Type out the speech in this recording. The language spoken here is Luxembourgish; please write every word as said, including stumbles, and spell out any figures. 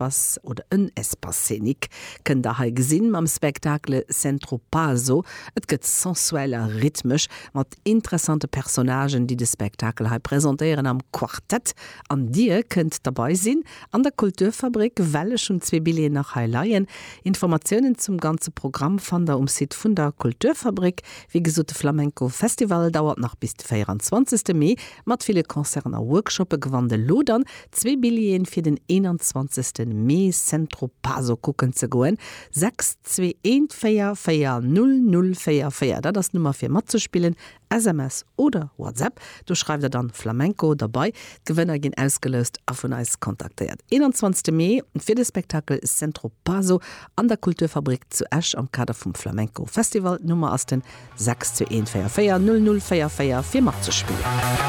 Espace oder en Espace scénique kënnt der hei gesinn mam Spektakel Centro Paso. Et gëtt sensuell a rhythmesch mat interessante Personnagen, déi de Spektakel hei presentéieren am Quartett. An Dir kënnt derbäi sinn an der Kulturfabrik, well ech hunn zwee Billjeeën nach hei leien. Informatiounen zum ganze Programm fannt der um Site vun der Kulturfabrik. Wéi gesot de Flamenco Festival dauert nach bis de véierenzwanzegste Mee mat ville Concerten a Workshoppe. Gewannt elo dann zwee Billjeeën fir den eenanzwanzegste Mee Centro Paso kucken ze goen. sechs zwee eent véier véier null null véier véier, dat ass d'Nummer fir matzespillen, S M S oder WhatsApp. Do schreift der dann Flamenco derbäi. D'Gewënner ginn ausgeloust a vun eis kontaktéiert. eenanzwanzegste Mee fir de Spektakel Centro Paso an der Kulturfabrik zu Esch am Kader vum Flamenco Festival. D'Nummer ass den sechs zwee eent véier véier null null véier véier fir matzespillen.